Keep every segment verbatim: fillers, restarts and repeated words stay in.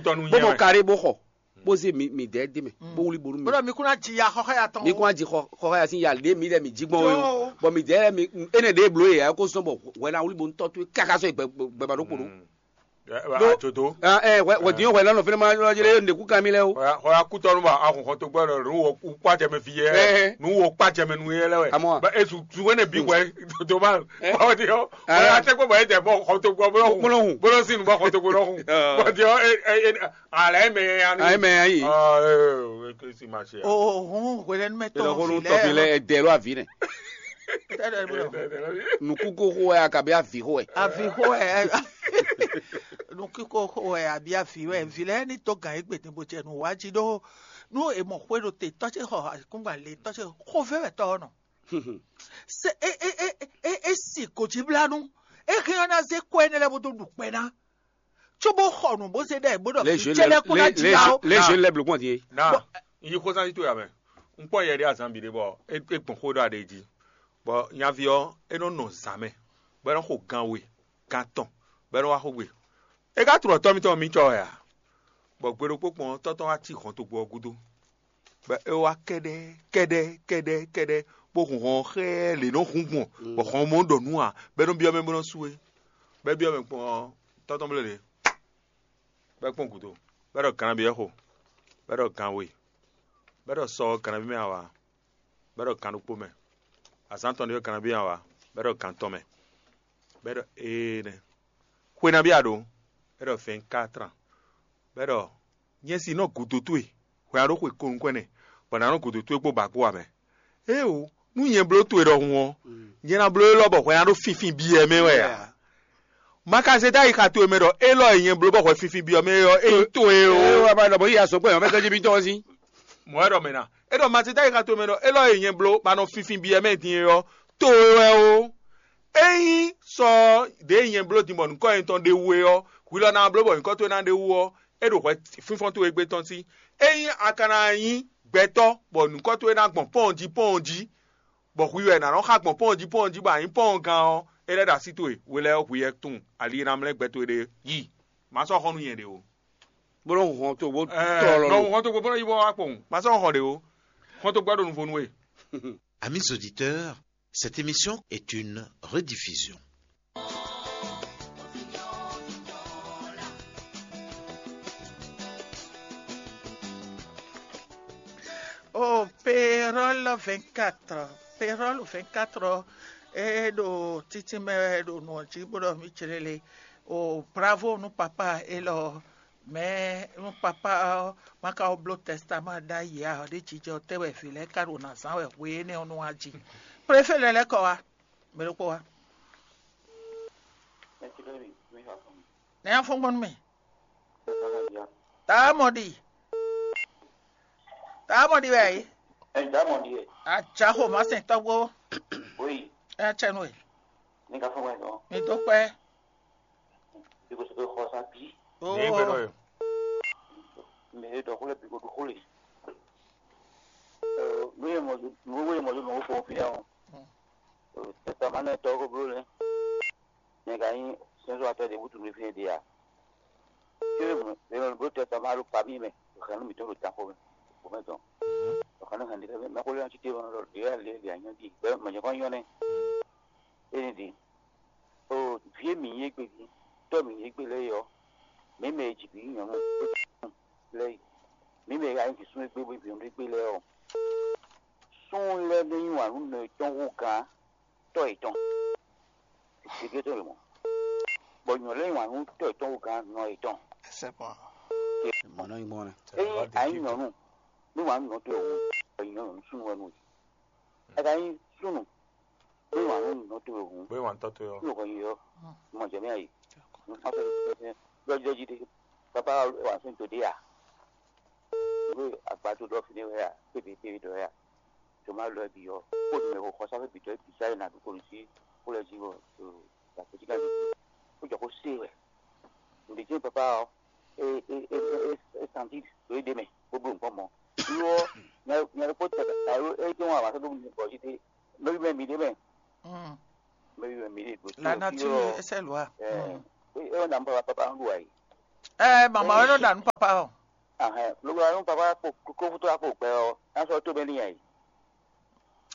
Tɔnu bó nyɛ mɔ wɛ. Kare bó xɔ, bó zé mi mi dɛ dé mɛ, bó wuli bonu mi. Bódɔ mi kún ná ji ya xɔxɔ ya tɔn. Mi kún ná ji xɔ xɔ ya sín ya lé mi lɛ mi jí gbɔn o. Bɔn mi dɛ mi ene ɖe blo yɛ ko sɔn bɔ hwɛ na wuli bonu tɔ to kaka sɔ gbɛ gbɛ ma ɖo kpo ɖo. Ajodo. Ɛ wɛ wɛ diɲɔ hwɛ na nɔ fɛnɛ ma lɔ jɛ ne ku kan mi lɛ o. Xɔ ya kutɔnu ba ahun xɔ to gbɔ nu wɔ kpa jɛ mɛ fi yɛ. Nu wɔ kpa jɛ mɛ nu yɛ lɛ wɛ. Amɔ. Ba esu su wɛnɛ bi wɛ to ba. Ɔ diɔ. Ɔ ya tɛ kpɔ bɔ e jɛ bɔ xɔ to gbɔ bolo hun. Bolo sin bɔ xɔ to gbɔ hun. Ɔ diɔ e e Alɛ mɛ ya ni. Ayi mɛ ayi. Ɔ ee o ke si ma se ya. Ohun hwelɛnu mɛ Ela tɔn ko nu fi tɔfi lɛ lɛ. Ɛdɛ lo avi nɛ. Tɛlɛ bolo. Nuku ko xo ya kabi avi xo ɛ. Avi xo ɛ. Nuku ko xo ɛ abi avi wɛ vi lɛ ni to gan egbe ni bo jɛ nu wa ji ɖo nu e mɔ xwe ɖo te tɔ ce xɔ akungba le tɔ ce xo vɛ wɛ tɔ nɔ. Se e e e e e si ko ji bla nu. E hɛn na ze kɔ ene lɛ bo do ɖu kpɛ na. Tso bó xɔ nǔ bó zé ɖɛ bó ɖɔ Les jeunes, cɛlɛ kó ná les, les, jila o. Les jeunes lɛ́ bló gbɔn din. Na, n yi xósán sí towe amɛ. Un kpɔ yɛ ɖé azan bǐ ɖé bɔ é é gbɔn xó ɖɔ aɖe jí. Bɔ nyaví ɔ́, é nɔ nɔ zǎn mɛ, bɔ é nɔ xo gan we, gan tɔn, bɔ é nɔ wá xó gbe. É ka tunɔ tɔ́ mitɔn mi cɔ wɛ a? Bɔ gbe ɖokpó kpɔn ɔ́, tɔ́ tɔn wá cí hɔntogbó ɔ́ gúdo. Bɔ é wá kɛ́ɖɛ́ kɛ́ɖɛ́ kɛ́ɖɛ́ kɛ́ɖɛ́, bó hun hɔn ɔ́ xɛ́ lě nɔ hun gbɔn, bɔ hɔn mɔ ɖɔ nǔ ǎ, bɔ é nɔ byɔ́ mɛ bó nɔ sú é. Bɔ é byɔ́ mɛ kpɔ́n ɔ́, tɔ́ tɔn bló lě, bɔ é kpɔ́n gǔdo, bɔ é ɖɔ gannabyɔ́ xo, bɔ é ɖɔ gan we, bɔ é ɖɔ sɔ ɔ́ gannabyɔ́ mɛ ǎ wǎ, bɔ é ɖɔ gan ɖokpó mɛ, azǎn tɔn ɖé ɔ́ gannabyɔ́ ǎ wǎ, bɔ é ɖɔ gan tɔn mɛ, bɔ é ɖɔ éenɛ́. Xwe nabí a ɖǒ? É ɖɔ vɛ̌nkátrán. Bɔ é ɖɔ nyɛ si nɔ gǔdo towe, hwɛ a ɖó xwe ko nukɔn ɛnɛ, bɔ nǎ nɔ gǔdo towe kpó ba kpó ǎ mɛ. Éeǒ, nú nyɛ bló towe ɖɔhun ɔ́, nyɛ ná bló élɔ́ bɔ hwɛ ná ɖó fínfín byɔ́ mɛ wɛ ǎ. Ma ka zé dó ayixa towe mɛ ɖɔ élɔ́ e nyɛ bló bɔ hwɛ fínfín byɔ́ mɛ é ɔ́, é nyí towe ó. Ée wá ma ɖɔ bɔ yi azɔ̌ gbɛ yɔ̌ fɛ́ tɔ́ jí mítɔn ɔ́ sín. Mɔ̌ wɛ ɖɔ mɛ ná. É ɖɔ ma zé dó ayixa towe mɛ ɖɔ élɔ́ e nyɛ bló ma nɔ fínfín byɔ́ mɛ din é ɔ́, towe wɛ ó. Ényí sɔ ɖěe nyɛ bló din bɔ nǔkɔ nyɛ tɔn ɖe wú é ɔ́, hwi lɔ ná bló bɔ nyǐkɔ towe ná ɖe wú ɔ́, é ɖo hwɛ fínfɔ́n towe gbé tɔn sí. Ényí a ka ná nyí gbɛtɔ́ bɔ nǔkɔ towe ná gbɔn pɔ́ɔn jí pɔ́ɔn jí, bɔ hwi wɛ nǎ nɔ xa gbɔn pɔ́ɔn jí pɔ́ɔn jí bɔ a nyǐ pɔ́ɔn gán ɔ́, é lɛ́ ɖo así towe, hwe lɛ́ɛ ɔ́, hwi wɛ tunwun ali e ná mlɛ́ gbɛ towe ɖe yí. Má sɔ́ xɔ́n nú nyɛ ɖě ó. Bó nɔ́ hun hɔn togbó Ɛɛ, tɔlɔ nɔ lo. Hun hɔn togbó bó nɔ́ yí bó wá kpɔn. Má sɔ́ xɔ́n ɖě ó. Hɔn togbó ɔ́ ɖo nuvo nú we. Amis auditeurs, cette émission est une rediffusion. Oh, Pérol vingt-quatre. Pérol vingt-quatre, e ɖo títí mɛ wɛ ɖo nǔ ɔ́ jí bó ɖɔ mí clélé. Oh, bravo nú papa élɔ́. Mɛ nú papa ɔ́, má ka wó bló tɛstamá ɖ'ayǐ ǎ, ɖé jijɛ ɔ́ tɛ́ wɛ vǐ lɛ́ɛ ka ɖo nǎ zán wɛ hwe énɛ́ ɔ́ nú wá jí. Préfé lɛ́ɛ lɛ́ kɔ wá, mɛ ɖokpó wá. Nɛ́ afɔ́n gbɔn nú mì. Taa mɔ ɖi. Taa mɔ ɖi wɛ yí. Ajaxo má sɛn tɔgbo. Ɛ tsɛ nú ɛ. Mi dó kpɛ. Oo. Mɛ e ɖɔ xó lɛ́ɛ bǐ ko ɖu xó le. Nú e mɔ nú e mɔ nú mɔ fɔ́n fínɛ́ ɔ́, tɛ́tamánɛtɔ́ ko bló lɛ́ɛ. Nyɛ ka nyí sɛ́nzɔ́watɔ́ ɖě wútu nú fínɛ́ ɖe a? Có e mɔ è nɔ bló tɛ́tamá ɖo pabí mɛ, hɛn nú mǐtɔn ɖo danxo mɛ, xo mɛ dɔn. Hɛn nú hɛn ɖi mɛ xó lɛ́ɛ ɔ́ cí te mɛ ɖɔ ɖě wɛ lě lě anyɔ́ ɖi, mɛ nyɔ̌kɔ́ nyɔ́ nɛ́. Énɛ́ ɖi. Oo, vǐ e mǐ nyí égbé jí, tɔ́ mǐ nyí égbé lɛ́ɛ é ɔ́, mǐ mɛ e ji vǐ nyɔ̌nu lɛ́ɛ, mǐ mɛ e ka nyí vǐ súnnu égbé bó nyí vǐ nyɔ̌nu égbé lɛ́ɛ ɔ́, súnnu lɛ́ɛ nɔ yí wǎn nú nɔ yětɔn hú gǎn tɔ́ yětɔn. Gěgé tɔn lě mɔ̌. Bɔ nyɔ̌nu lɛ́ɛ yí wǎn nú tɔ́ yětɔn hú gǎn nɔ yětɔn. Mɔ̌ nɔ nyí gbɔn nɛ. Ényí a nyí nyɔ̌nu, nú wǎn nú nɔ towe hú, bɔ nyɔ̌nu súnnu wɛ nú we. A ka nyí súnnu, nú wǎn nú nɔ towe hú, Bóyá wǎn tɔ́ towe ɔ́. Nú nɔ yi ɔ́, mɔ jɛ mɛ ayi. Nú xá fɛn fɛn fɛn, ɖɔjí ɖɔjí ɖé. Bàbá wà fún tòde à? Ìwé àgbàdo lọ fi ní wẹ́ à? Pébè pébè dɔ wẹ́ à? Tó má lɔ ẹbí ɔ, kó nu mɛ xɔ xɔsá fẹ́ bìtɔ ẹbí sáyé nà dúkò ní sí kó lɛ jí wɔ gbàgbé jí ká ní kó jɔ kó sé wɛ. Ǹdè jẹ́ bàbá ɔ, é é é é é santi lórí dé mɛ gbogbo nǹkan mọ́. Irú nya nya kó tẹ̀ ká ló é jẹ́ wọn àwọn akẹ́kọ̀ọ́ mi bọ̀ jí dé lórí mẹ́ mi dé mɛ. Mm. Mɛ mi dé gbòtí La nature essaie loi. Ɛ é wọn nà ń bá wa pápá ń lù wá yìí. Ɛ mama wɛ nɔ ɖa nú papa ɔ. Ahɛn, lobɔ anu papa kpo kókó tó akpo gbɛ ɔ, ná sɔ tó bɛ ní yà yìí.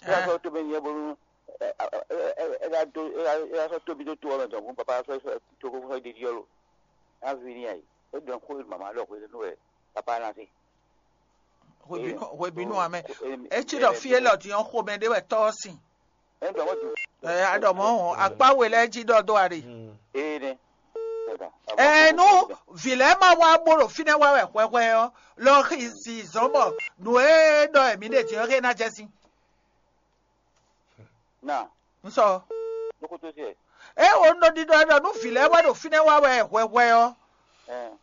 Ná sɔ tó bɛ ní yà bónú ɛ ká dó ɛ ká sɔ tóbi tó tó ɔmɛ dɔn fún papa sɔ sɔ tó kókó sɔ dídí ɔlò. Ná vi ní yà yìí. É dɔn kó mama lɔ xwé nú ɛ papa ná sí. Hwebínú amɛ. Etsi ɖɔ fí élɔ́ din ɔ́ xomɛ ɖé wɛ tɔ́ ɔ́ sin. Ɛ aɖɔ mɔ̌ hɔn akpá we lɛ́ɛ jí ɖɔ dó a ɖe. Ee nɛ. Ɛ nú vǐ lɛ́ɛ ma wá bó ɖo fínɛ́ wá wɛ hwɛhwɛ ɔ́, lɔ xi si zɔ̌n bɔ nǔ e ɖɔ mǐ ɖe din ɔ́ xé ná jɛ sín. Na. Un sɔ. Lókútú sí ɛ. É wo un ɖo ɖiɖɔ ɖɔ nú vǐ lɛ́ɛ wá ɖo fínɛ́ wá wɛ hwɛhwɛ ɔ́, Ɛ.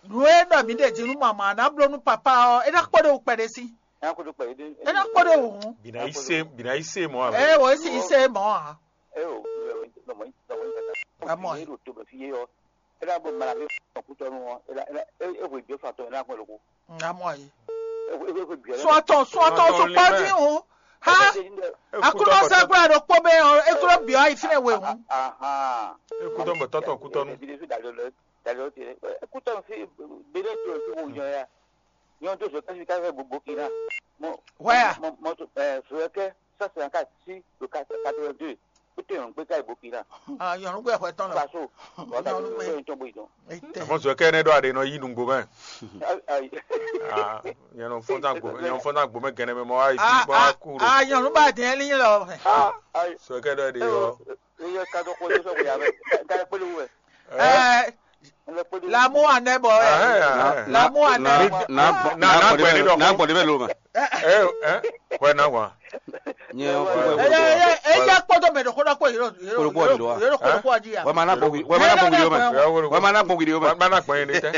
Nǔ e ɖɔ mǐ ɖe din nú mama ná bló nú papá ɔ́, é ná kpɔ́ ɖe wú kpɛɖé sí. Ɛ ná kó ɖo kpɛ. É ná kpɔ́ ɖe wú hǔn. Bina yi se bina yi se mɔ ame. Ɛ wò é sì yí sé mɔ̌ ǎ. Ɛ o. Lɔmɔ yí lɔmɔ yí tata. Amɔ. Ní ɖo to bɛ fi yé yɔ. É ná bɔ mara mi kútɔnu ɔ. É ná é ná é é hwe biɔ fatɔ é ná kpɔ́ loko. Amɔ yi. É hwe é hwe biɔ. Sɔtɔn sɔtɔn sukpɔ dín hǔn. Ha. Akulɔ sɛgbla ɖo kpó bɛ ɔ eklɔ biɔ ayi fínɛ we hǔn. Ahan. Ekutɔ bɔ tɔtɔ kutɔnu. Ebi de fi dalɔ lɛ dalɔ te. Ekutɔ fi bele to fi wo nyɔ ya. Nyɔ to so kasi kasi bo Burkina. Mo. Where? Mo mo to eh so ke ça c'est en quatre si le quatre quatre-vingt-deux. Ko te yon gbe kai Burkina. Ah, yon gbe hwe ton la. Faso. Wala ko yon ton bo idon. Afɔnso kɛ ne ɖɔ aɖe nɔ yi nugbo mɛ. Ai ai. Ah, yɛn nɔ fɔn ta gbo yɛn nɔ fɔn ta gbo mɛ gɛnɛ mɛ mɔ ayi ti bɔ aku ɖo. Ah, nyɔnu ba dɛn li lɔ. Ai. So kɛ ɖɔ ɖe yɔ. Iye ka dɔ ko yosɔ ko ya bɛ. Ka kpele wɛ. Ɛ. Lamu anɛ bɔ ɛ. Lamu anɛ. Na gbɔ de bɛ lo ma. Ɛ ɛ wɛ na wa. Eya kpɔtɔ mɛ ɖo kódɔ kpɔ yiro yiro kódɔ kpɔ di ya. Wɛ ma na gbɔ wi wɛ ma na gbɔ wi ma. Wɛ ma na gbɔ wi ma. Wɛ ma na gbɔ yin tɛ.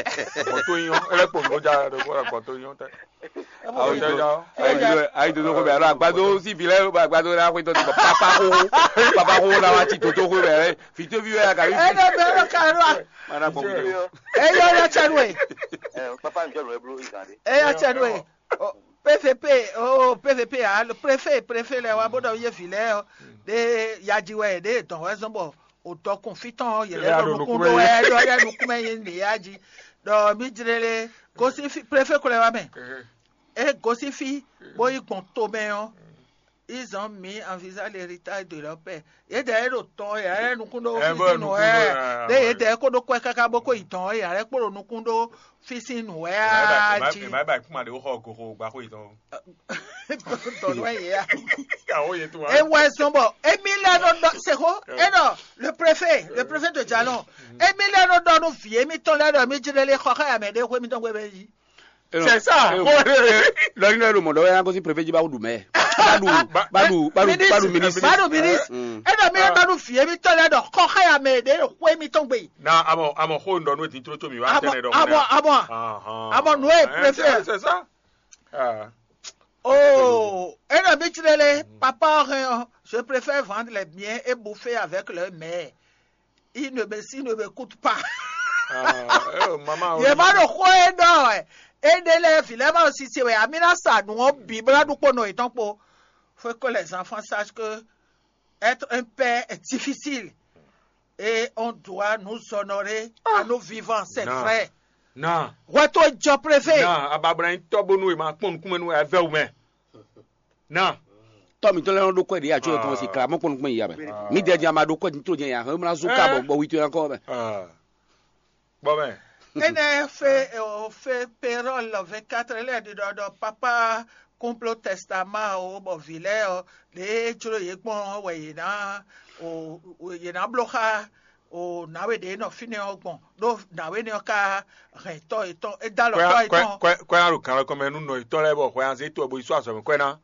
Gbɔ to yin ɔ. Ele kpo mi ko ja ɖo kódɔ gbɔ to yin tɛ. Ayi dodo ko bɛ alo agbado si bi lɛ agbado la ko to papa ko papa ko la wa ti toto ko bɛ fito bi wɛ ka bi. Ɛ dɛ bɛ ro ka ro a. Mana ko bi. Ɛ yɔ yɔ cɛ nue. Papa njɔ nue blo izan de. Ɛ yɔ cɛ nue. P V P o P V P a préfet préfet lɛ wa bó dɔ yé vi lɛ de yaji wɛ de dɔn wɛ zɔn bɔ o dɔkun fitɔn yɛ lɛ dɔ nukun do wɛ dɔ yɛ nukun mɛ yé ne yaji dɔ mi jlele gosi préfet ko lɛ wa mɛ. E gosín fí, bó yi gbɔn tomɛ ɔ́, ils ont mis en visa l'héritage de leur père. Yědɛɛ é ɖo tɔn ɔ́, yě ná lɛ́ nukún ɖó fí sín nǔ wɛ ǎ. Ɖé yědɛɛ é ko ɖó kwɛ́ káká bó ko yi dɔn ɔ́, yě ná lɛ́ kpo ɖo nukún ɖó fí sín nǔ wɛ ǎ jí. È má bǎ kún ma ɖě xɔ goxo gbá xó yětɔn. Dɔ̌n wɛ yě a. Yàwó yě tó wá. É wɛ zɔn bɔ émí lɛ́ nɔ ɖɔ sexo é ɖɔ le préfet le préfet de jalon émí lɛ́ nɔ ɖɔ nú vǐ émítɔn lɛ́ ɖɔ émí jlé lé xɔ xá yà mɛ ɖé xwé émítɔn xwé bɛ yí. C'est ça. Lɔri nɔ ɖo mɔdɔ wɛ na gosi préfet ji ba ɖu mɛ. Ba ɖu ba ɖu ba ɖu ba ɖu ministre. Ba ɖu ministre. Mm. E ɖɔ mi ɖɔ ɖɔ nu fie mi tɔ lɛ ɖɔ kɔ xɛ ya mɛ ɖe ɖo xwe mi tɔn gbe. Na amɔ amɔ xo ŋdɔ nu eti tro tso mi wa tɛnɛ ɖɔ. Amɔ amɔ amɔ nu ye préfet. C'est ça. Ah. Oh, e ɖɔ mi tsi lele papa hɛn ɔ, je préfère vendre les biens et bouffer avec le maire. Il ne me, il ne m'écoute pas. Yě má ɖo xó e ɖɔ wɛ. Éɖé lɛ́ɛ vǐ lɛ́ɛ má ɖo sise wɛ. Amí ná sa nǔ ɔ́ bǐ bó ná ɖu kpó nɔ yětɔn kpó. Faut que les enfants sachent que être un père est difficile. Et on doit nous honorer à nos vivants, c'est vrai. Na. Hwɛ tó jɔ préfet. Na ababla nyí tɔ́ bónú è ma kpɔ́n nukúnmɛ nú ɛ vɛ́ wú mɛ. Na. Tɔ́ mǐtɔn lɛ́ɛ nɔ ɖó kwɛ́ ɖě atsɔ́ yɛ kɔn si kla mɔ́ kpɔ́n nukún yǐyá mɛ. Mǐdɛɛ din a ma ɖó kwɛ́ din tló din a hɛn mlá zú ká bɔ bɔ wi towe kɔ mɛ. Bɔ mɛ. Énɛ́ fé o fé pérɔl vingt-quatre lɛ́ɛ ɖi ɖɔ ɖɔ papa kúnpló tɛstamá o bɔ vǐ lɛ́ɛ ɔ ɖě jló yě gbɔn ɔ́ wɛ yě ná o yě ná bló xá o nǎwe ɖě nɔ fínɛ́ ɔ́ gbɔn ɖó nǎwe nɛ́ ɔ́ ka hɛn tɔ́ yětɔn é dó alɔ tɔ́ yětɔn. Kwɛ ná ɖo kan lɔ kɔn mɛ nú nɔ yětɔn lɛ́ɛ bɔ hwɛ anzé tó ɛ bo yi sɔ́ azɔ̌ mɛ kwɛ ná.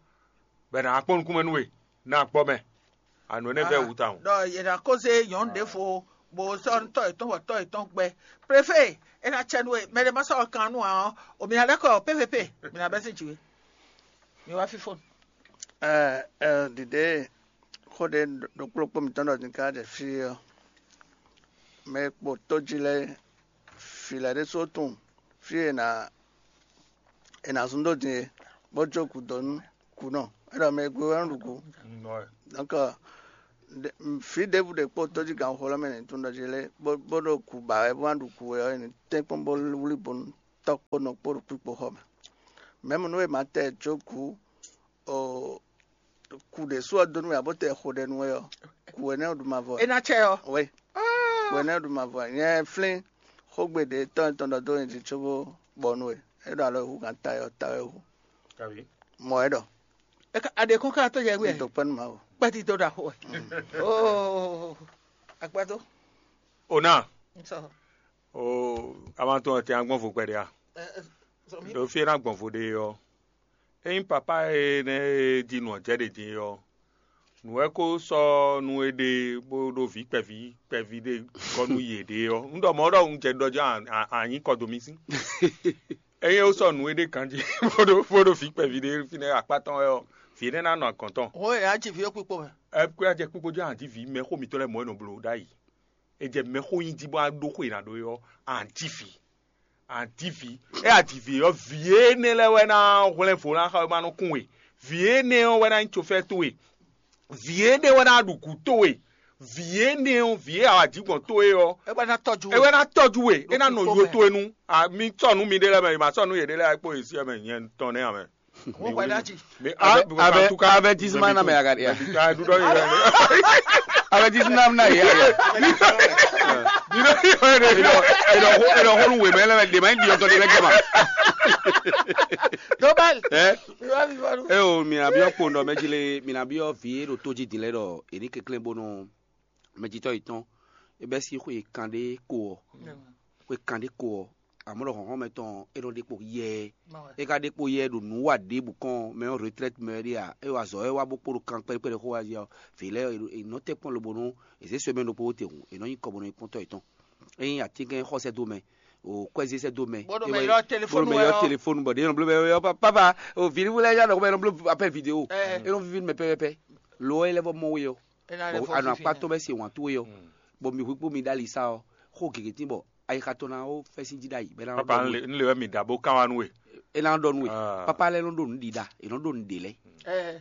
Bɔ è nǎ kpɔ́n nukúnmɛ nú we, ná gbɔ mɛ. Anǔ énɛ́ vɛ́ wú tawun. Ɖɔ yě ná kó zé nyɔ̌nu ɖěvo bó sɔ́ tɔ́ yětɔn bɔ tɔ́ yětɔn gbɛ. Préfé, é ná cɛ nú we, mɛ ɖé má sɔ́ kan nú ǎ ɔ́, o mǐ ná lɛ́ kɔ P V P, mǐ ná bɛ́ sín jǐ we. Mi wá fífó. Ɛ ɛ ɖiɖe xó ɖé ɖokplókpó mǐtɔn ɖɔ din ká ɖe fí ɔ́, mɛ e kpo tójí lɛ́ɛ, vǐ lɛ́ɛ ɖésú tunwun fí e è nǎ è nǎ zún dó din é, bó jó gǔdo nú kǔnɔ. É ɖɔ mɛ e gbe wɛ nɔ ɖu gǔ. Donc, Fǐ ɖěbǔ ɖě kpó tójígǎnxó lɛ́ɛ mɛ ní tún ɖɔ jí lé, bó ɖo kǔ ba wɛ, bó ná ɖu kǔ wɛ ɔ́, è nǐ tɛ́nkpɔ́n bó wlí bónú tɔ́ kpó nɔ kpó ɖo kpíkpo xɔ mɛ. Mɛ̌ mɔ nú è ma tɛ jó kǔ, kǔ ɖě sú ɔ́ dó nú we ǎ, bó tɛ xo ɖɛ nú we ɔ́, kǔ énɛ́ ɔ́ ɖu mavɔ. É ná cɛ ɔ́. Wɛ, kǔ énɛ́ ɔ́ ɖu mavɔ. Nyɛ flín xógbe ɖě tɔ́ nyitɔn ɖɔ dó nyi jí cóbó bɔ nú we. É ɖo alɔ e hú gǎn ta ɔ́ ta wɛ hú. Mɔ ɛ ɖɔ. Aɖe kɔn ká tɔ́ yɛ wɛ. Dɔ kpɛ́ nú Mawu. Kpɛ́ ti dó ɖo axo wɛ. Oo, akpɛ́ tó. Ona. Sɔ. O, a ma tɔn tɛ agbɔn vo kpɛɖe a? Ɖo fie na gbɔn vo ɖe ɔ́, ényí papa e nɛ e di nɔ jɛ ɖe din ɔ́, nǔ wɛ ko sɔ́ nú é ɖe bó ɖó vǐ kpɛví kpɛví ɖé gɔ́ nú yě ɖe ɔ́, un ɖɔ mɔ̌ ɖɔ un jɛ ɖɔ jɔ anyǐ kɔ dó mì sín. Ényí é sɔ́ nǔ é ɖe ganjí bó ɖó bó ɖó vǐ kpɛví ɖé fínɛ́ akpá tɔn wɛ ɔ́, vǐ énɛ́ ná nɔ agɔ̌n tɔn. Hɔn e a ji vǐ ɔ́ kpikpo mɛ. Ɛ kó a jɛ kpikpo jɔ anjí vǐ mɛ xó mǐtɔn lɛ́ɛ mɔ̌ e nɔ bló ɖ'ayǐ. È jɛ mɛxó nyi jí bó wá ɖó xó e è nǎ ɖó é ɔ́, a nǎ ji vǐ. A nǎ ji vǐ. É a ji vǐ ɔ́, vǐ énɛ́ lɛ́ɛ wɛ ná hwlɛ́n vo ná xa wɛ má nɔ kún we. Vǐ énɛ́ ɔ́ wɛ ná nyí cofɛ́ towe. Vǐ énɛ́ wɛ ná ɖu gǔ towe. Vǐ énɛ́ ɔ́, vǐ e a wa jǐ gbɔn towe ɔ́, é wɛ ná tɔjú é wɛ ná tɔjú we. É ná nɔ yo towe nu. Mi sɔ nú miɖée lɛ́ɛ mɛ, è ma sɔ nú yěɖée lɛ́ɛ kpó yě sí ɛ mɛ nyɛ tɔn nɛ́ ǎ mɛ. Wọ́n pẹ̀lú àjì. Abẹ abẹ avertisement na mɛ aga dia. Avertisement na ya ya. Ino ino ino ino ino inu wemɛ lɛ de ma indi ɔtɔ de lɛ gɛma. Dobal. Eh? Eo, mina biɔ kpondɔ mɛ ji le, mina biɔ vi e ɖo to ji din lɛ ɖɔ eni kekle bonu mɛ jitɔ yetɔn e bɛ si xwe kan ɖe ko ɔ. Xwe kan ɖe ko ɔ, amɔ̌ ɖɔ hlɔ̌nhlɔ́n mɛtɔn ɔ́, é nɔ ɖe kpo yɛɛ. É ka ɖe kpo yɛɛ ɖo nǔ wa ɖěbǔ kɔn mɛ ɔ́ retraite mɛ ɖé a? É wa azɔ̌ é wá bó kpo ɖo kan kpɛ́ɖí kpɛ́ɖí xó wá zi ɔ́, vǐ lɛ́ɛ è nɔ tɛ́ kpɔ́n lobo nú è zě sɔ́ mɛ ɖokpó te hǔn, è nɔ nyí kɔ bó nɔ nyí kpɔ́ntɔ́ yětɔn. Ényí atínkɛn xɔ sɛ́ dó mɛ, o kwɛ́zé sɛ́ dó mɛ, bó ɖo mɛ ylɔ́ téléfónu wɛ ɔ́, téléfónu bɔ ɖě nɔ bló mɛ ɔ́, papa, o vǐ lɛ́ɛ yá nɔ mɛ nɔ bló appel vidéo, é nɔ víví nú mɛ pɛ́pɛ́pɛ́. Lo ɔ́ é lɛ́ vɔ mɔ we ɔ́. Bɔ anɔ akpá tɔn bɛ se wǎn towe ɔ́, bɔ mi hu kpó mi ɖ'ali sa ɔ́, xó gěgé tín bɔ ayixa tɔn ná ó fɛ́sín jí ɖ'ayǐ bɔ é ná Papa, nɔ un le, un le wɛ mi ɖa bó kán wá nú we. É ná ɖɔ nú we. Ah. Papa lɛ́ɛ nɔ ɖo nǔ ɖiɖa, è nɔ ɖo nǔ ɖe lɛ́ɛ.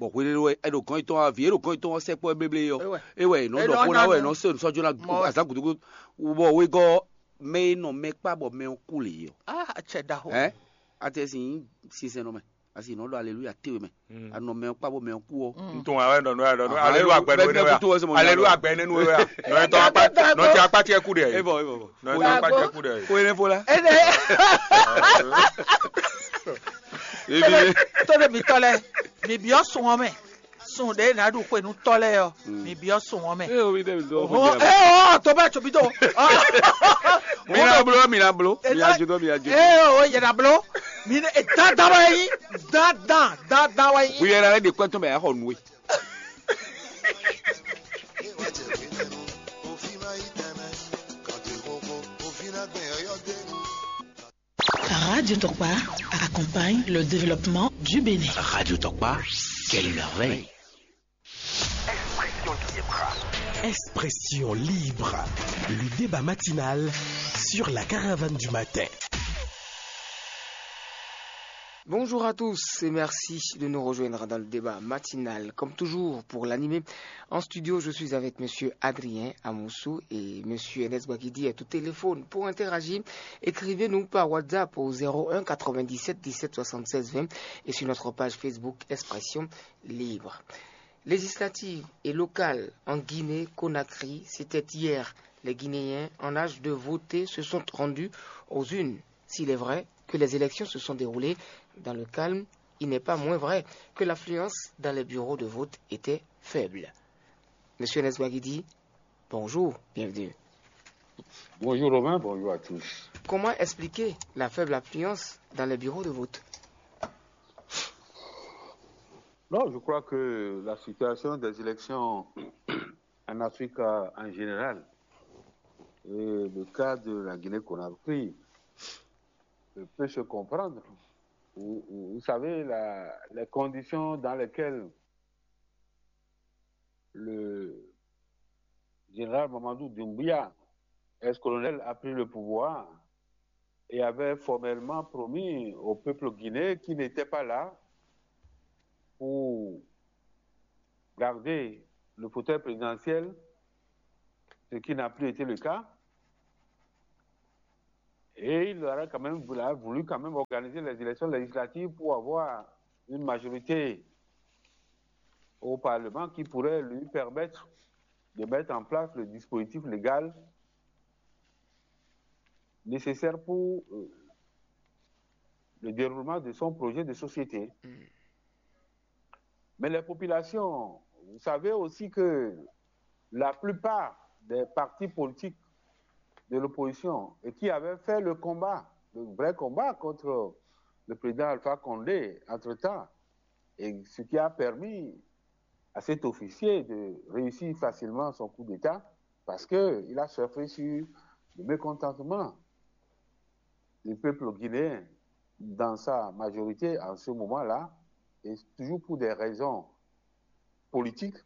Bɔ hweleló wɛ é ɖo gɔ̌n yětɔn ɔ́, vǐ e ɖo gɔ̌n yětɔn ɔ́ sɛkpɔ́ éblé ɔ́, é wɛ è nɔ ɖɔ xó ná wɛ è nɔ se nǔsɔ́jó ná azǎn gǔdo bɔ wegɔ́ mɛ e nɔ mɛ kpá bɔ mɛ ɔ́ kú lě ɔ́. Ah, acɛ ɖaxó. Ɛ atɛ sin sinsɛn nɔ mɛ. Asi nɔ ɖɔ aleluya te we mɛ. Anɔ mɛ kpa bɔ mɛ kú ɔ. Ntɔn awɛ nɔ nɔ nɔ aleluya gbɛ nɔ nɔ ya. Aleluya gbɛ nɔ nɔ ya. Nɔ tɔ akpa nɔ tɔ akpa tiɛ ku de. Ebɔ ebɔ bɔ. Nɔ tɔ akpa tiɛ ku de. Ko ene fo la. Ene. Ebi. Tɔ de mi tɔ lɛ, mi biɔ sɔn mɛ. Sun ɖe ná ɖu xwe nú tɔ́ lɛ́ɛ ɔ́, mi byɔ́ sun ɔ́ mɛ. Ée o mi ɖe mi dó Hɔn ɔ́ ée ɔ tɔ bɛ tso mi do. Mi na blo, mi na blo, mi na ju dó, mi na ju. Ée o yɛ na blo. Mi ne dandan wɛ yi. Dandan dandan wɛ yi. Wuyɛ na lɛ de kpɛtɔ mɛ axɔ nue. Radio Tokpa accompagne le développement du Bénin. Radio Tokpa, quelle merveille. Expression libre. Le débat matinal sur la caravane du matin. Bonjour à tous et merci de nous rejoindre dans le débat matinal. Comme toujours, pour l'animer en studio, je suis avec monsieur Adrien Amoussou et monsieur Ernest Bagidi est au téléphone. Pour interagir, écrivez-nous par WhatsApp au zéro un quatre-vingt-dix-sept dix-sept soixante-seize vingt et sur notre page Facebook Expression Libre. Législatives et locales en Guinée-Conakry, c'était hier. Les Guinéens en âge de voter se sont rendus aux urnes. S'il est vrai que les élections se sont déroulées dans le calme, il n'est pas moins vrai que l'affluence dans les bureaux de vote était faible. Monsieur Neswagidi, bonjour, bienvenue. Bonjour Romain, bonjour à tous. Comment expliquer la faible affluence dans les bureaux de vote ? Non, je crois que la situation des élections en Afrique en général et le cas de la Guinée-Conakry peut se comprendre. Vous, vous savez, la, les conditions dans lesquelles le général Mamadou Doumbouya, ex-colonel, a pris le pouvoir et avait formellement promis au peuple guinéen qui n'était pas là pour garder le fauteuil présidentiel, ce qui n'a plus été le cas. Et il aurait quand même voulu, quand même organiser les élections législatives pour avoir une majorité au Parlement qui pourrait lui permettre de mettre en place le dispositif légal nécessaire pour euh, le déroulement de son projet de société. Mm. Mais les populations, vous savez aussi que la plupart des partis politiques de l'opposition et qui avaient fait le combat, le vrai combat contre le président Alpha Condé entre-temps, et ce qui a permis à cet officier de réussir facilement son coup d'État, parce qu'il a surfé sur le mécontentement du peuple guinéen dans sa majorité en ce moment-là, et toujours pour des raisons politiques.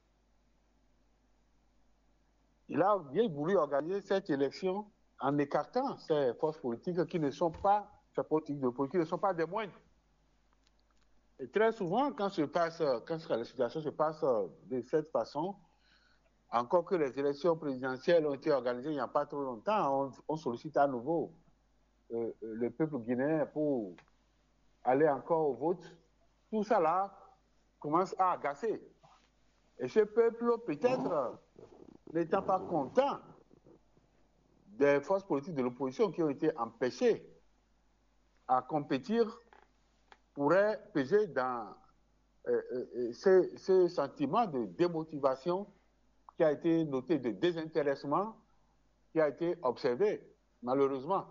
Il a bien voulu organiser cette élection en écartant ces forces politiques qui ne sont pas, ces politiques de politique qui ne sont pas des moindres. Et très souvent, quand, se passe, quand la situation se passe de cette façon, encore que les élections présidentielles ont été organisées il n'y a pas trop longtemps, on, on sollicite à nouveau euh, le peuple guinéen pour aller encore au vote. Tout ça là commence à agacer. Et ce peuple, peut-être, n'étant pas content des forces politiques de l'opposition qui ont été empêchées à compétir, pourrait peser dans euh, euh, euh, ce, ce sentiment de démotivation qui a été noté, de désintéressement qui a été observé, malheureusement.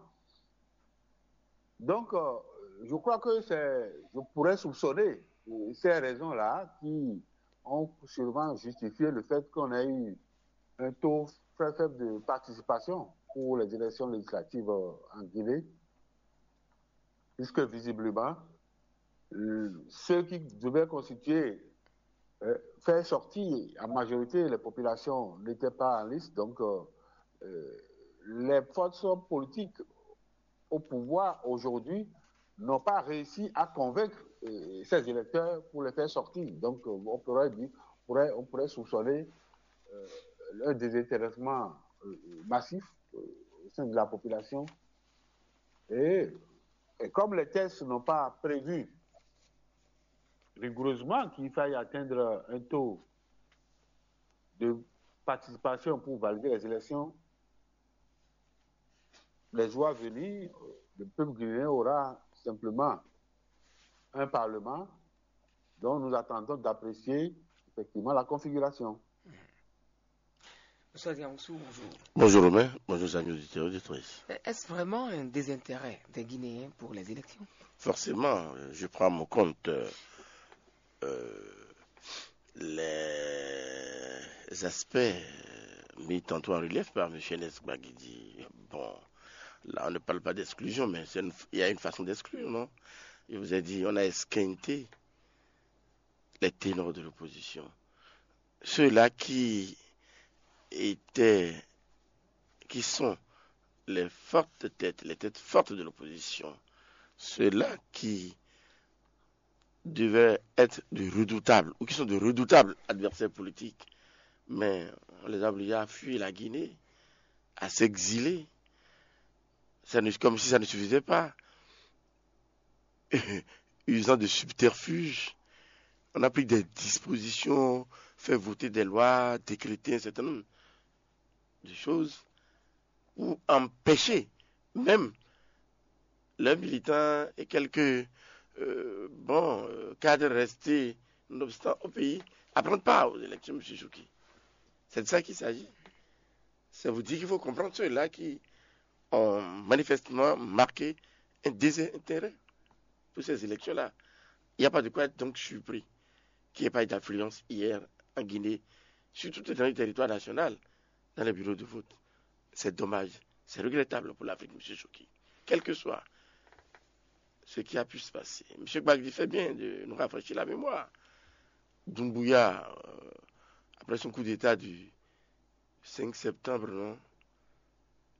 Donc, euh, je crois que c'est, je pourrais soupçonner euh, ces raisons-là qui ont sûrement justifié le fait qu'on a eu un taux très faible de participation pour les élections législatives euh, en Guinée, puisque visiblement, euh, ceux qui devaient constituer, euh, faire sortir en majorité les populations n'étaient pas en liste. Donc, euh, euh, les forces politiques au pouvoir aujourd'hui n'ont pas réussi à convaincre euh, ces électeurs pour les faire sortir. Donc, euh, on pourrait dire, pourrait, on pourrait soupçonner euh, un désintéressement euh, massif euh, au sein de la population. Et, et comme les tests n'ont pas prévu rigoureusement qu'il faille atteindre un taux de participation pour valider les élections, les jours à venir, le peuple guinéen aura simplement un parlement dont nous attendons d'apprécier effectivement la configuration. Monsieur Adiansou, bonjour. Bonjour Romain, bonjour amis auditeurs et auditrices. Est-ce vraiment un désintérêt des Guinéens pour les élections ? Forcément, euh, je prends en compte euh, euh, les aspects euh, mis tantôt en relief par M. Nesbagidi. Bon, là, on ne parle pas d'exclusion, mais c'est une- il y a une façon d'exclure, non ? Je vous ai dit, on a esquinté les ténors de l'opposition. Ceux-là qui étaient, qui sont les fortes têtes, les têtes fortes de l'opposition, ceux-là qui devaient être de redoutables, ou qui sont de redoutables adversaires politiques, mais on les a obligés à fuir la Guinée, à s'exiler. Ça ne- comme si ça ne suffisait pas. Usant de subterfuges, on a pris des dispositions, fait voter des lois, décréter un certain nombre de choses pour empêcher même leurs militants et quelques euh, bons euh, cadres restés, nonobstant, au pays, à prendre part aux élections, M. Chouki. C'est de ça qu'il s'agit. C'est vous dire qu'il faut comprendre ceux-là qui ont manifestement marqué un désintérêt pour ces élections-là. Il n'y a pas de quoi être donc surpris qu'il n'y ait pas eu d'affluence hier en Guinée, sur tout le territoire national, dans les bureaux de vote. C'est dommage, c'est regrettable pour l'Afrique, M. Chouki. Quel que soit ce qui a pu se passer. M. Gbagdi fait bien de nous rafraîchir la mémoire. Doumbouya, euh, après son coup d'État du cinq septembre, non,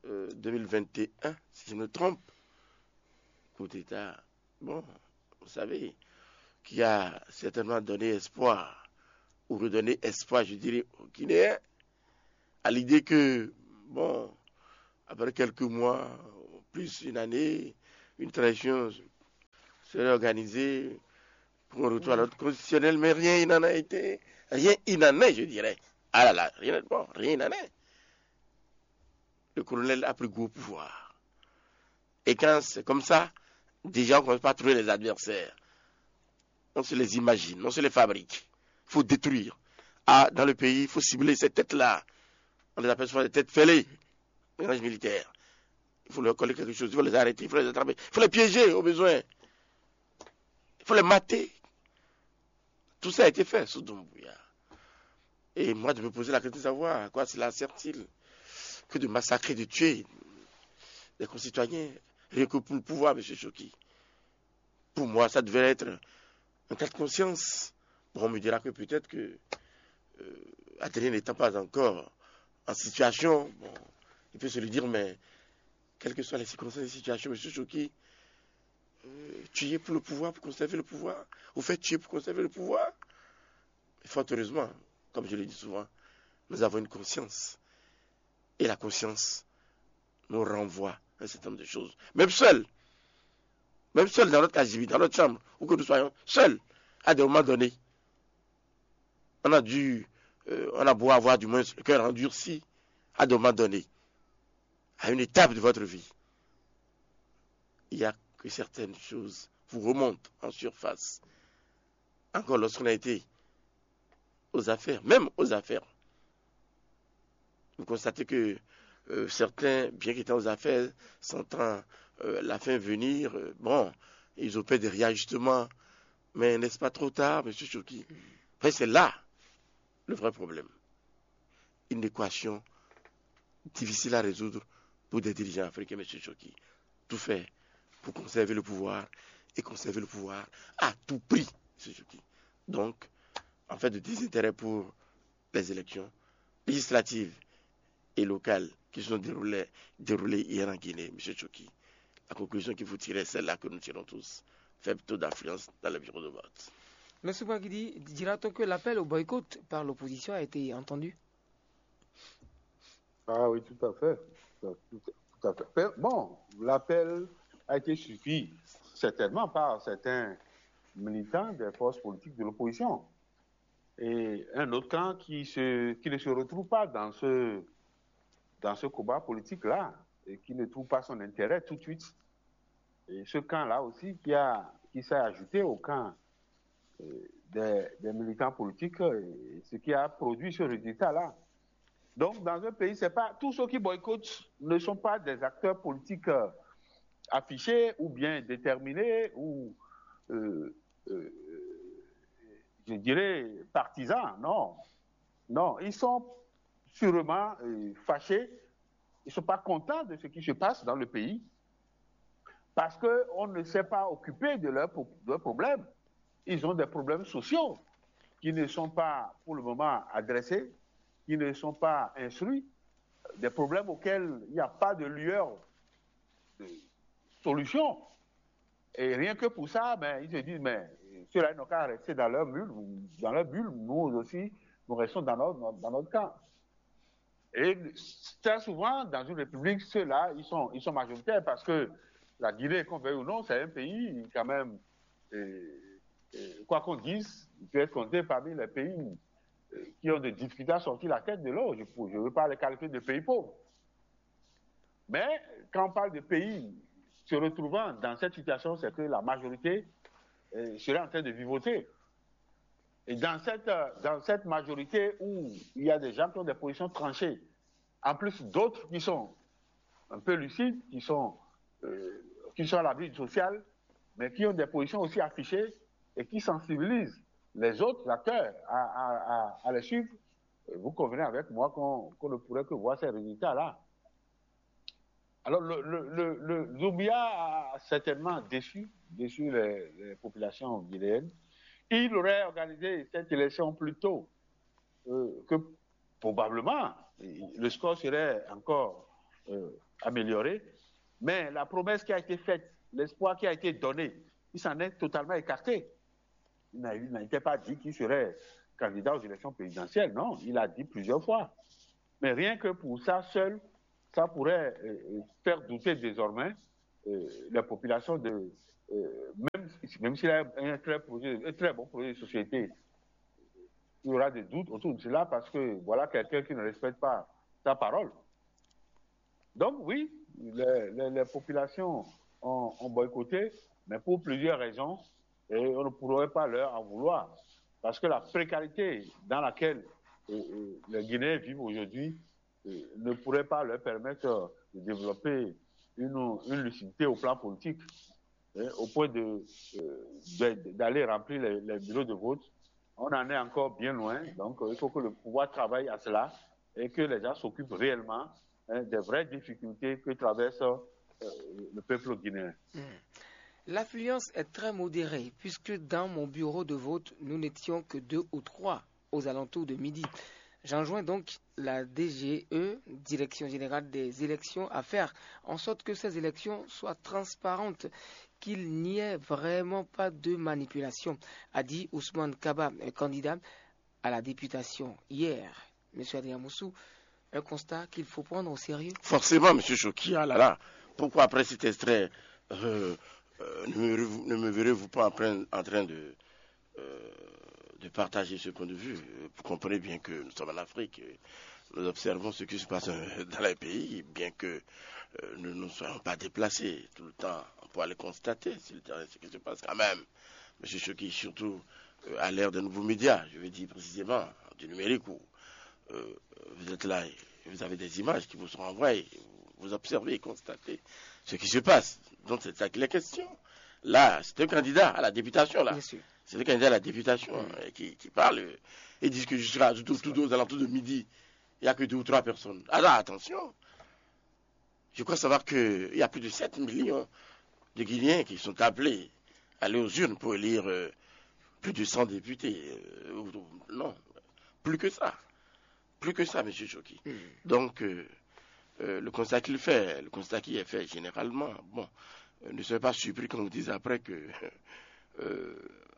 euh, deux mille vingt et un, si je me trompe, coup d'État, bon, vous savez, qui a certainement donné espoir ou redonner espoir, je dirais, aux Guinéens, à l'idée que, bon, après quelques mois, plus une année, une transition serait organisée pour un retour à l'ordre constitutionnel, mais rien il n'en a été. Rien il n'en est, je dirais. Ah là là, rien, bon, rien il n'en est. Le colonel a pris gros pouvoir. Et quand c'est comme ça, déjà on commence par trouver les adversaires. On se les imagine, on se les fabrique. Il Faut détruire. Ah, dans le pays, il faut cibler ces têtes-là. On les appelle souvent des têtes fêlées, les rangs militaires. Il faut leur coller quelque chose, il faut les arrêter, il faut les attraper, il faut les piéger au besoin. Il faut les mater. Tout ça a été fait sous Doumbouya. Et moi, je me posais la question de savoir à quoi cela sert-il que de massacrer, de tuer des concitoyens, rien que pour le pouvoir, monsieur Choki. Pour moi, ça devait être un cas de conscience. Bon, on me dira que peut-être que euh, Adrien n'étant pas encore en situation, bon, il peut se le dire, mais quelles que soient les circonstances et situations, monsieur Choki, euh, tuer pour le pouvoir, pour conserver le pouvoir, ou faire tuer pour conserver le pouvoir. Et fort heureusement, comme je le dis souvent, nous avons une conscience. Et la conscience nous renvoie à un certain nombre de choses. Même seul, même seul dans notre casier, dans notre chambre, où que nous soyons, seul, à des moments donnés, on a dû, euh, on a beau avoir du moins le cœur endurci, à des moments donnés, à une étape de votre vie, il y a que certaines choses vous remontent en surface. Encore lorsqu'on a été aux affaires, même aux affaires, vous constatez que euh, certains, bien qu'étant aux affaires, sentant euh, la fin venir, euh, bon, ils opèrent des réajustements. Mais n'est-ce pas trop tard, monsieur Choki? Après, c'est là le vrai problème. Une équation difficile à résoudre pour des dirigeants africains, monsieur Choki. Tout faire pour conserver le pouvoir et conserver le pouvoir à tout prix, monsieur Choki. Donc, en fait, de désintérêt pour les élections législatives et locales qui se sont déroulées, déroulées hier en Guinée, monsieur Choki. La conclusion qu'il faut tirer, c'est celle-là que nous tirons tous. Faible taux d'influence dans les bureaux de vote. Monsieur Bagidi, dira-t-on que l'appel au boycott par l'opposition a été entendu? Ah oui, tout à fait. Tout à fait. Bon, l'appel a été suivi certainement par certains militants des forces politiques de l'opposition. Et un autre camp qui, se, qui ne se retrouve pas dans ce, dans ce combat politique-là et qui ne trouve pas son intérêt tout de suite. Et ce camp-là aussi qui, a, qui s'est ajouté au camp euh, des, des, militants politiques, euh, ce qui a produit ce résultat-là. Donc, dans un pays, c'est pas tous ceux qui boycottent ne sont pas des acteurs politiques euh, affichés ou bien déterminés ou, euh, euh, je dirais, partisans. Non. Non, ils sont sûrement euh, fâchés. Ils ne sont pas contents de ce qui se passe dans le pays parce qu'on ne s'est pas occupé de leurs de problèmes. Ils ont des problèmes sociaux qui ne sont pas pour le moment adressés, qui ne sont pas instruits, des problèmes auxquels il n'y a pas de lueur de solution. Et rien que pour ça, ben, ils se disent, mais ceux-là, ils n'ont qu'à rester dans leur bulle, dans leur bulle, nous aussi, nous restons dans notre, dans notre camp. Et très souvent, dans une république, ceux-là, ils sont, ils sont majoritaires parce que la Guinée, qu'on veuille ou non, c'est un pays quand même, et, et, quoi qu'on dise, il peut être compté parmi les pays euh, qui ont des difficultés à sortir la tête de l'eau. Je ne veux pas les qualifier de pays pauvres. Mais quand on parle de pays se retrouvant dans cette situation, c'est que la majorité euh, serait en train de vivoter. Et dans cette, euh, dans cette majorité où il y a des gens qui ont des positions tranchées, en plus d'autres qui sont un peu lucides, qui sont, euh, qui sont à l'abri du social, mais qui ont des positions aussi affichées et qui sensibilisent les autres acteurs à, à, à, à les suivre, vous convenez avec moi qu'on qu ne pourrait que voir ces résultats-là. Alors, le, le, le, le Zobia a certainement déçu, déçu les, les populations guinéennes. Il aurait organisé cette élection plus tôt euh, que probablement le score serait encore euh, amélioré. Mais la promesse qui a été faite, l'espoir qui a été donné, il s'en est totalement écarté. Il n'était pas dit qu'il serait candidat aux élections présidentielles. Non, il a dit plusieurs fois. Mais rien que pour ça seul, ça pourrait euh, euh, faire douter désormais euh, les populations de, euh, même, même s'il a un très, projet, un très bon projet de société, il y aura des doutes autour de cela parce que voilà quelqu'un qui ne respecte pas sa parole. Donc oui, les, les- les populations ont, ont boycotté, mais pour plusieurs raisons, et on ne pourrait pas leur en vouloir. Parce que la précarité dans laquelle euh, euh, les Guinéens vivent aujourd'hui euh, ne pourrait pas leur permettre euh, de développer une, une lucidité au plan politique, hein, au point de, euh, de- d'aller remplir les, les bureaux de vote. On en est encore bien loin, donc euh, il faut que le pouvoir travaille à cela et que les gens s'occupent réellement hein, des vraies difficultés que traverse euh, le peuple guinéen. L'affluence est très modérée puisque dans mon bureau de vote, nous n'étions que deux ou trois aux alentours de midi. J'enjoins donc la D G E, Direction Générale des Élections, à faire en sorte que ces élections soient transparentes, qu'il n'y ait vraiment pas de manipulation, a dit Ousmane Kaba, candidat à la députation hier. Monsieur Adrien Moussou, un constat qu'il faut prendre au sérieux. Forcément, monsieur Choki, ah là là, pourquoi après cet extrait euh, euh, ne, me, ne me verrez-vous pas en train, en train de, euh, de partager ce point de vue Vous comprenez bien que nous sommes en Afrique, nous observons ce qui se passe dans les pays, bien que nous ne soyons pas déplacés tout le temps pour aller constater ce qui se passe quand même. Monsieur Choki, surtout à l'ère des nouveaux médias, je veux dire précisément du numérique où vous êtes là et vous avez des images qui vous sont envoyées. Vous observez et constatez ce qui se passe. Donc c'est ça qu'il est question. Là, c'est un candidat à la députation. Là. C'est un candidat à la députation qui, qui, parle et dit que je serai tout, tout aux alentours de midi. Il n'y a que deux ou trois personnes. Alors attention. Je crois savoir qu'il y a plus de sept millions de Guinéens qui sont appelés à aller aux urnes pour élire euh, plus de cent députés. Euh, non, plus que ça. Plus que ça, monsieur Choki. Donc, euh, euh, le constat qu'il fait, le constat qui est fait généralement, bon, euh, ne soyez pas surpris quand on vous dise après que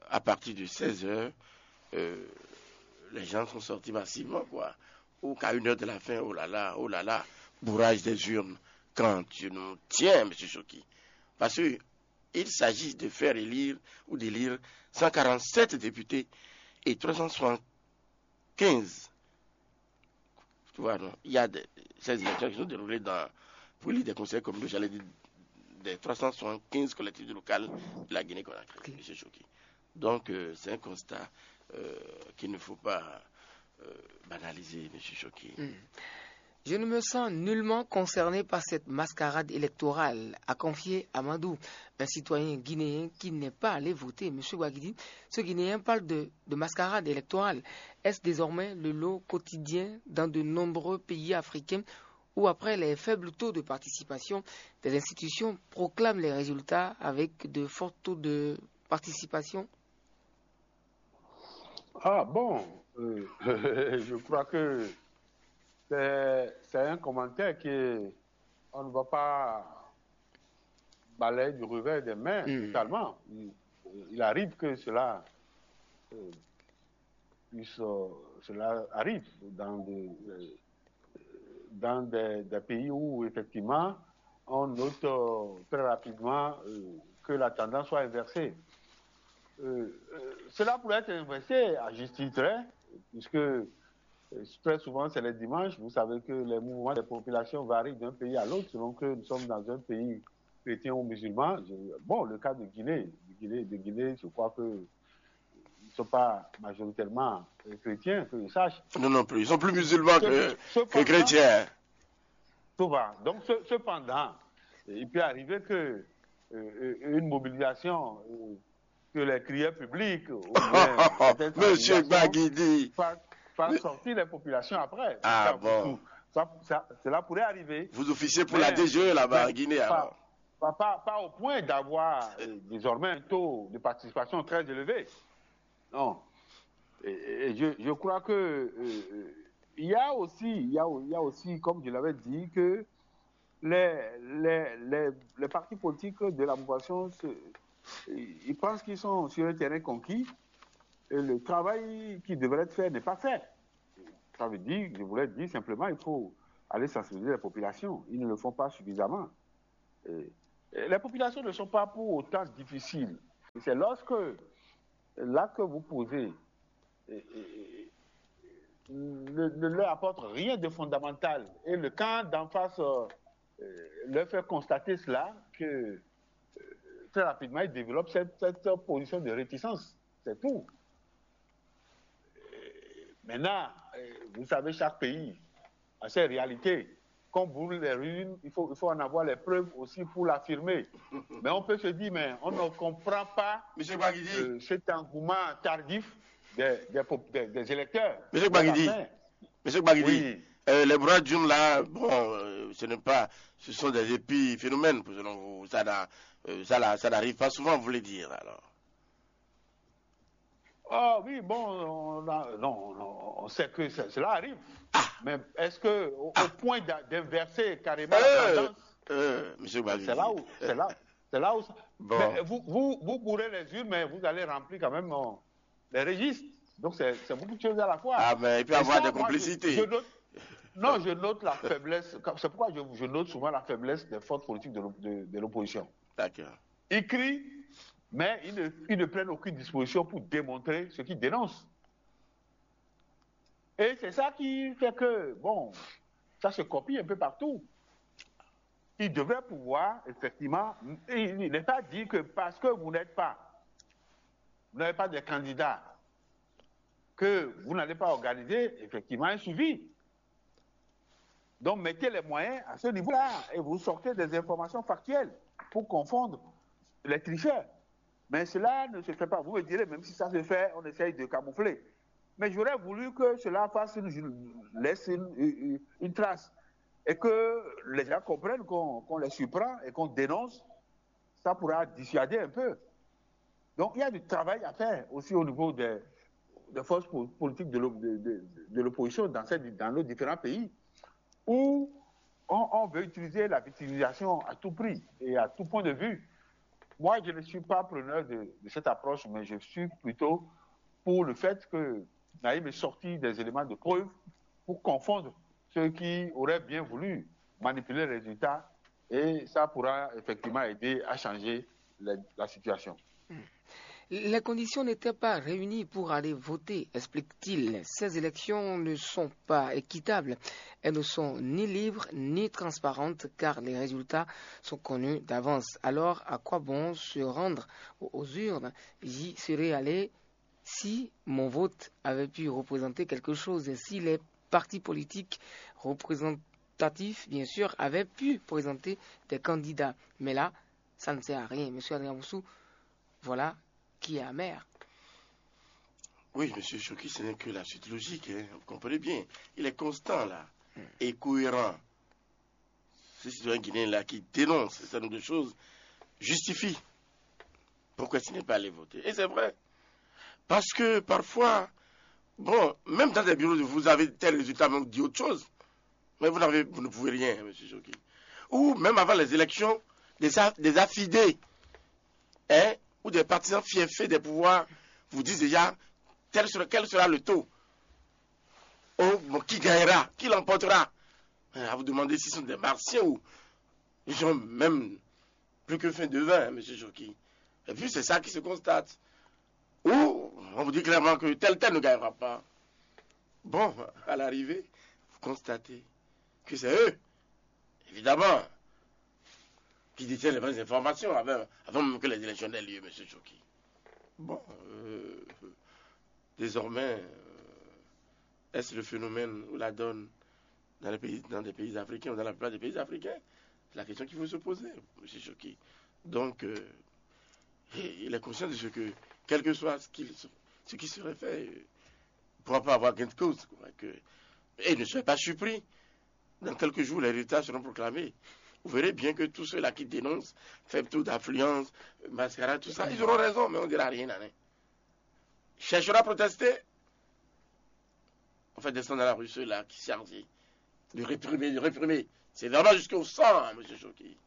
à partir de seize heures, les gens sont sortis massivement, quoi. Ou qu'à une heure de la fin, oh là là, oh là là, bourrage des urnes, quand tu nous tiens, monsieur Choki. Parce qu'il s'agit de faire élire ou d'élire cent quarante-sept députés et trois cent soixante-quinze. Tu vois, non, il y a des, ces élections qui sont déroulées dans, pour élire des conseils communaux, j'allais dire, des trois cent soixante-quinze collectivités locales de la Guinée-Conakry, monsieur Choki. Donc, euh, c'est un constat euh, qu'il ne faut pas euh, banaliser, monsieur Choki. Je ne me sens nullement concerné par cette mascarade électorale, a confié Amadou, un citoyen guinéen qui n'est pas allé voter. Monsieur Ouaguidi, ce Guinéen parle de, de mascarade électorale. Est-ce désormais le lot quotidien dans de nombreux pays africains où, après les faibles taux de participation, des institutions proclament les résultats avec de forts taux de participation ? Ah bon, euh, je crois que c'est un commentaire qui est, on ne va pas balayer du revers des mains mm. totalement. Il, il, arrive que cela euh, puisse, euh, cela arrive dans des, euh, dans des, des pays où effectivement on note euh, très rapidement euh, que la tendance soit inversée. Euh, euh, cela pourrait être inversé à juste titre, hein, puisque euh, très souvent c'est les dimanches. Vous savez que les mouvements des populations varient d'un pays à l'autre selon que nous sommes dans un pays chrétien ou musulman. Je- bon, le cas de Guinée, de Guinée, de Guinée, je crois que ils ne sont pas majoritairement euh, chrétiens, que je sache. Non, non plus. Ils sont plus musulmans que, que Cependant, chrétiens. Souvent. Donc, ce- cependant, il peut arriver que euh, euh, une mobilisation, euh, que les crières publics, ou bien certaines Monsieur organisations Baguidi, fassent, fassent sortir les populations après. Ah Ça, bon. ça- ça- cela pourrait arriver. Vous officiez pour la Mais- D G E là-bas, mais Guinée pas- alors. Pas, pas- pas au point d'avoir euh, désormais un taux de participation très élevé. Non. Et, et je, je crois que euh, euh, il y a aussi, il y a, il y a aussi, comme je l'avais dit, que les, les, les, les partis politiques de la mouvance, se- ils ils pensent qu'ils sont sur un terrain conquis. et le travail qui devrait être fait n'est pas fait. Ça veut dire, je voulais dire simplement, il faut aller sensibiliser les populations. Ils ne le font pas suffisamment. Et, et les populations ne sont pas pour autant difficiles. C'est lorsque l'acte que vous posez et, et, ne, ne leur apporte rien de fondamental. Et le camp d'en face euh, euh, leur fait constater cela, que euh, très rapidement, ils développent cette, cette position de réticence. C'est tout. Euh, Maintenant, euh, vous savez, chaque pays a ses réalités. Comme vous les ruines, il faut, il faut en avoir les preuves aussi pour l'affirmer. Mais on peut se dire, mais on ne comprend pas Monsieur Gbagidi, euh, cet engouement tardif des, des, pop- des- des électeurs. Monsieur Gbagidi. Enfin, Monsieur Gbagidi, Oui. euh, les bras d'une là, bon, euh, ce n'est pas, ce sont des épiphénomènes, selon vous. Ça, n'a- euh, ça, là, ça n'arrive pas souvent, vous voulez dire, alors. Ah oui, bon, on, a- non, non, on sait que ça- cela arrive. Mais est-ce que au, au point d'a- d'inverser carrément Euh, la tendance, euh, Monsieur Gbagidi. c'est là où, c'est là, c'est là où. Ça- Bon. Mais vous, vous, vous bourrez les urnes, mais vous allez remplir quand même euh, les registres. Donc c'est c'est beaucoup de choses à la fois. Ah, mais il peut y Et avoir ça, des moi, je- complicités. je note- non, je note la faiblesse. C'est pourquoi je, je note souvent la faiblesse des forces politiques de l'op- de- de l'opposition. D'accord. Ils crient, mais ils ne, ils ne prennent aucune disposition pour démontrer ce qu'ils dénoncent. Et c'est ça qui fait que, bon, ça se copie un peu partout. Il devrait pouvoir, effectivement, il n'est pas dit que parce que vous n'êtes pas, vous n'avez pas de candidat, que vous n'allez pas organiser effectivement un suivi. Donc mettez les moyens à ce niveau-là et vous sortez des informations factuelles pour confondre les tricheurs. Mais cela ne se fait pas. Vous me direz, même si ça se fait, on essaye de camoufler. Mais j'aurais voulu que cela fasse une, laisse une, une- une trace et que les gens comprennent qu'on qu'on les surprend et qu'on dénonce. Ça pourra dissuader un peu. Donc il y a du travail à faire aussi au niveau des, des forces po- politiques de l'op- de- de- de l'opposition dans, cette- dans nos différents pays où on, on veut utiliser la victimisation à tout prix et à tout point de vue. Moi, je ne suis pas preneur de, de cette approche, mais je suis plutôt pour le fait que Naïm ait sorti des éléments de preuve pour confondre ceux qui auraient bien voulu manipuler les résultats et ça pourra effectivement aider à changer la, la situation. Les conditions n'étaient pas réunies pour aller voter, explique-t-il. Ces élections ne sont pas équitables. Elles ne sont ni libres ni transparentes car les résultats sont connus d'avance. Alors, à quoi bon se rendre aux aux urnes ? J'y serais allé si mon vote avait pu représenter quelque chose, si les partis politiques représentatifs, bien sûr, avaient pu présenter des candidats. Mais là, ça ne sert à rien. Monsieur Adrien Boussou, voilà qui est amer. Oui, monsieur Choki, ce n'est que la suite logique, hein, vous comprenez bien. Il est constant, là, et cohérent. Ce citoyen guinéen-là qui dénonce ce certain nombre de choses justifie pourquoi il n'est pas allé voter. Et c'est vrai. Parce que parfois, bon, même dans des bureaux, vous avez tel résultat, mais on dit autre chose. Mais vous, n'avez, vous ne pouvez rien, monsieur Choki. Ou même avant les élections, des, a- des affidés, hein, ou des partisans fiefés des pouvoirs vous disent déjà tel sera, quel sera le taux. Oh, bon, qui gagnera, qui l'emportera. À vous demander s'ils sont des martiens ou ils ont même plus que faim de vin, hein, monsieur Choki. Et puis c'est ça qui se constate. Ou on vous dit clairement que tel tel ne gagnera pas. Bon, à l'arrivée, vous constatez que c'est eux, évidemment, qui détiennent les vraies informations avant, avant même que les élections aient lieu, monsieur Choki. Bon, euh, désormais, euh, est-ce le phénomène ou la donne dans, les pays, dans des pays africains ou dans la plupart des pays africains ? C'est la question qu'il faut se poser, monsieur Choki. Donc, euh, il est conscient de ce que, quel que soit ce, qu'il, ce qui serait fait, euh, il ne pourra pas avoir gain de cause. Quoi, que, et ne soyez pas surpris. Dans quelques jours, les résultats seront proclamés. Vous verrez bien que tous ceux-là qui dénoncent, faible taux d'affluence, mascarade, tout ça, ils auront raison, mais on ne dira rien. Hein. Cherchera à protester. On fait descendre à la rue ceux-là qui chargent de réprimer, de réprimer. C'est vraiment jusqu'au sang, hein, monsieur Choki.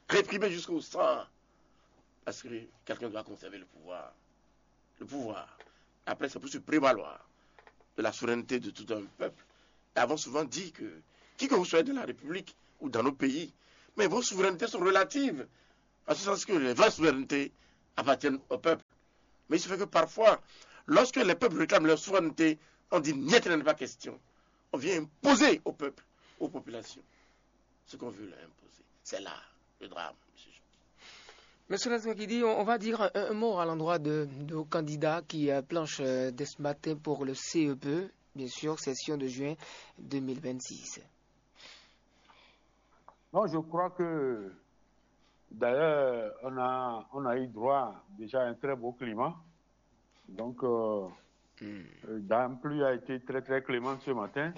Réprimer jusqu'au sang. Parce que quelqu'un doit conserver le pouvoir. Le pouvoir. Après, c'est pour se prévaloir de la souveraineté de tout un peuple. Et avons souvent dit que, qui que vous soyez dans la République ou dans nos pays, mais vos souverainetés sont relatives. En ce sens que les vraies souverainetés appartiennent au peuple. Mais il se fait que parfois, lorsque les peuples réclament leur souveraineté, on dit niet, il n'est pas question. On vient imposer au peuple, aux populations, ce qu'on veut leur imposer. C'est là le drame, monsieur. Monsieur Lazouakidi, on, on va dire un, un mot à l'endroit de, de nos candidats qui euh, planchent euh, dès ce matin pour le C E P, bien sûr, session de juin deux mille vingt-six. Non, je crois que d'ailleurs, on a, on a eu droit déjà à un très beau climat. Donc, euh, euh, la pluie a été très, très clémente ce matin.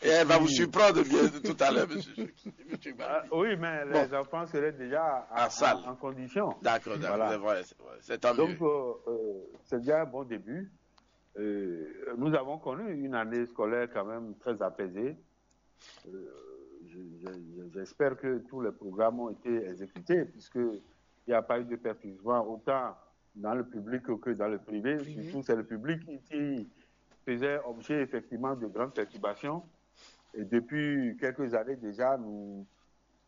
Et elle va vous surprendre bien tout à l'heure, monsieur. Monsieur Ah, Gbabi. oui, mais Bon. Les enfants seraient déjà À en, salle. en- en condition. D'accord, d'accord, Voilà. c'est vrai, c'est vrai. C'est tant Donc, mieux. euh, euh, c'est déjà un bon début. Euh, nous avons connu une année scolaire quand même très apaisée. Euh, je- je- je- J'espère que tous les programmes ont été exécutés puisqu'il n'y a pas eu de perturbation autant dans le public que dans le privé. Privé. Surtout, c'est le public qui, qui faisait objet effectivement de grandes perturbations. Et depuis quelques années déjà, nous,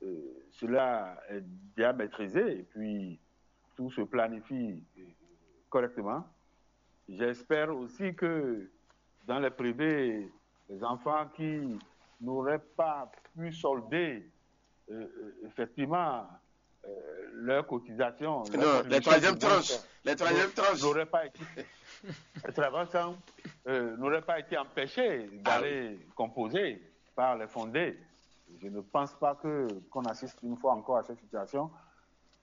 euh, cela est bien maîtrisé et puis tout se planifie euh, correctement. J'espère aussi que dans les privés, les enfants qui n'auraient pas pu solder euh, euh, effectivement euh, leur cotisation, leur Non, les contribution troisième du moins, tranche. Les troisième tranche. N'auraient pas été, les troisième tranche, euh, n'auraient pas été empêchés d'aller composer par les fondés. Je ne pense pas que qu'on assiste une fois encore à cette situation.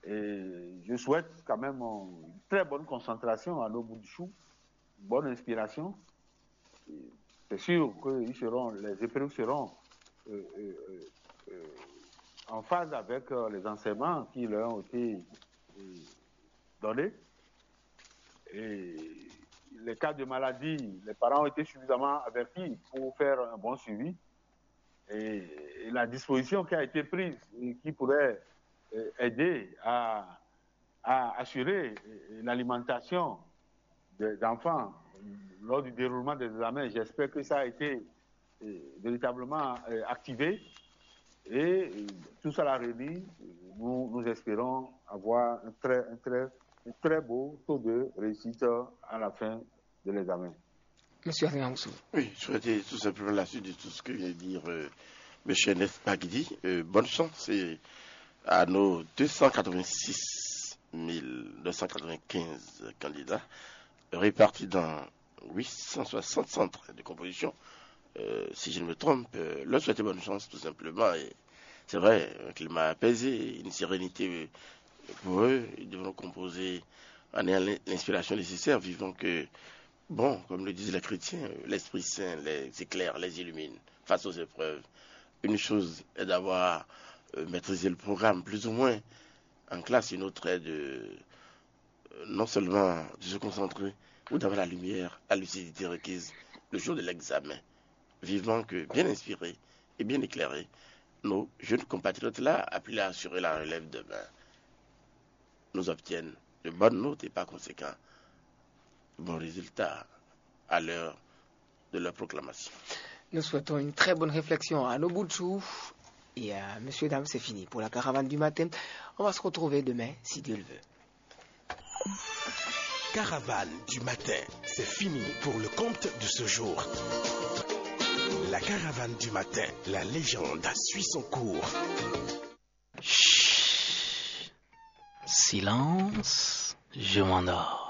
Et je souhaite quand même euh, une très bonne concentration à nos bouts de chou, bonne inspiration. Et c'est sûr que ils seront, les épreuves seront euh, euh, euh, euh, en phase avec euh, les enseignements qui leur ont été euh, donnés. Et les cas de maladie, les parents ont été suffisamment avertis pour faire un bon suivi. Et, et la disposition qui a été prise et qui pourrait euh, aider à, à assurer euh, l'alimentation des enfants lors du déroulement des examens, j'espère que ça a été euh, véritablement euh, activé. Et euh, tout cela réuni, nous, nous espérons avoir un très, un très, un très beau taux de réussite à la fin de l'examen. Monsieur Adrien Oussou. Oui, je souhaitais tout simplement la suite de tout ce que vient de dire euh, M. Nef Bagidi. Euh, bonne chance et à nos deux cent quatre-vingt-six mille deux cent quatre-vingt-quinze candidats, répartis dans huit cent soixante centres de composition. Euh, si je ne me trompe, euh, leur souhaiter bonne chance tout simplement. Et c'est vrai, un climat apaisé, une sérénité euh, pour eux. Ils devront composer en ayant l'in- l'inspiration nécessaire, vivant que, bon, comme le disent les chrétiens, euh, l'Esprit Saint les éclaire, les illumine face aux épreuves. Une chose est d'avoir euh, maîtrisé le programme, plus ou moins, en classe, une autre est de euh, non seulement de se concentrer ou d'avoir la lumière, la lucidité requise le jour de l'examen. Vivement que, bien inspirés et bien éclairés, nos jeunes compatriotes-là appelés à assurer la relève demain nous obtiennent de bonnes notes et par conséquent de bons résultats à l'heure de leur proclamation. Nous souhaitons une très bonne réflexion à nos bouts de chou. Et à messieurs, dames, c'est fini pour la caravane du matin. On va se retrouver demain, si Dieu le veut. Caravane du matin, c'est fini pour le compte de ce jour. La caravane du matin, la légende suit son cours. Chut. Silence, je m'endors.